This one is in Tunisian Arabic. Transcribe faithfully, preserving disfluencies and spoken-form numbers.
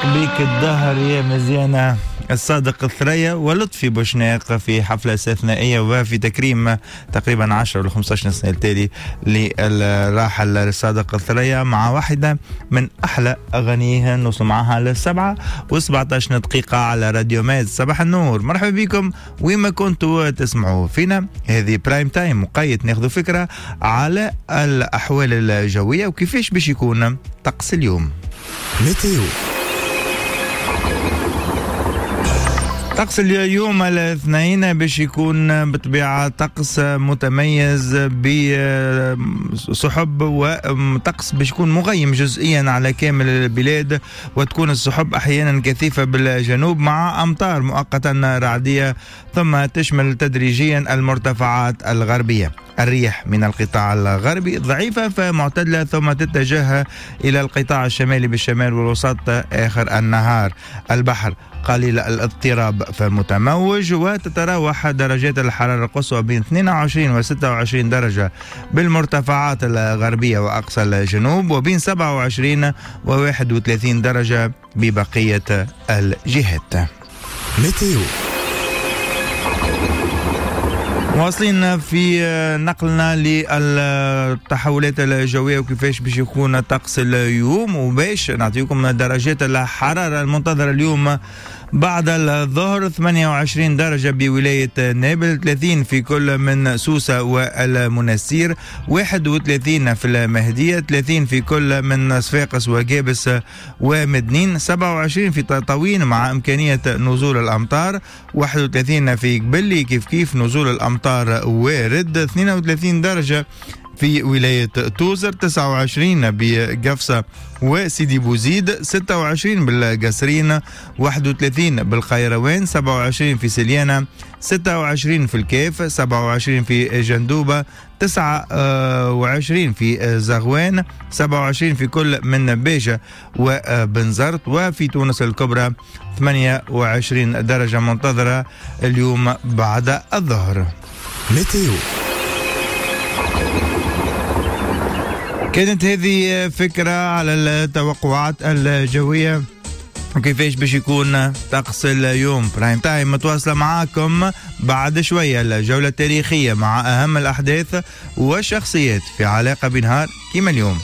يضيق بك الدهر يا مزيانة، الصادق الثريا ولطفي بوشناق في حفلة استثنائية وفي تكريم تقريبا عشرة ولا خمسة عشر سنة التالي للراحل الصادق الثريا مع واحدة من أحلى أغانيه. نوصل معها للسبعة وسبعة عشر دقيقة على راديو ماد. صباح النور، مرحبا بكم وين كنتوا تسمعوا فينا. هذه prime time مقيد، ناخذ فكرة على الأحوال الجوية وكيفاش باش يكون طقس اليوم. météo. طقس اليوم الاثنين باش يكون بطبيعة طقس متميز بسحب، وطقس باش يكون مغيم جزئيا على كامل البلاد، وتكون السحب أحيانا كثيفة بالجنوب مع أمطار مؤقتا رعدية، ثم تشمل تدريجيا المرتفعات الغربية. الريح من القطاع الغربي ضعيفة فمعتدلة، ثم تتجه إلى القطاع الشمالي بالشمال والوسط آخر النهار. البحر قليل الاضطراب فمتموج، وتتراوح درجات الحرارة القصوى بين اثنين وعشرين و ستة وعشرين درجة بالمرتفعات الغربية وأقصى الجنوب، وبين سبعة وعشرين و واحد وثلاثين درجة ببقية الجهات. météo. واصلين في نقلنا للتحولات الجوية وكيفاش باش يكون طقس اليوم، وباش نعطيكم درجات الحرارة المنتظرة اليوم بعد الظهر. ثمانية وعشرين درجة بولاية نابل، ثلاثين في كل من سوسة والمنستير، واحد وثلاثين في المهدية، ثلاثين في كل من صفاقس وجابس ومدنين، سبعة وعشرين في تطاوين مع إمكانية نزول الأمطار، واحد وثلاثين في قبلي كيف كيف نزول الأمطار وارد، اثنين وثلاثين درجة في ولاية توزر، تسعة وعشرين بقفصة وسيدي بوزيد، ستة وعشرين بالقصرين، واحد وثلاثين بالقيروان، سبعة وعشرين في سليانة، ستة وعشرين في الكاف، سبعة وعشرين في جندوبة، تسعة وعشرين في زغوان، سبعة وعشرين في كل من بيجة وبنزرت، وفي تونس الكبرى ثمانية وعشرين درجة منتظرة اليوم بعد الظهر. météo. كانت هذه فكرة على التوقعات الجوية وكيفاش باش يكون طقس اليوم. prime time متواصلة معاكم بعد شوية الجولة التاريخية مع أهم الأحداث والشخصيات في علاقة بنهار كيما اليوم.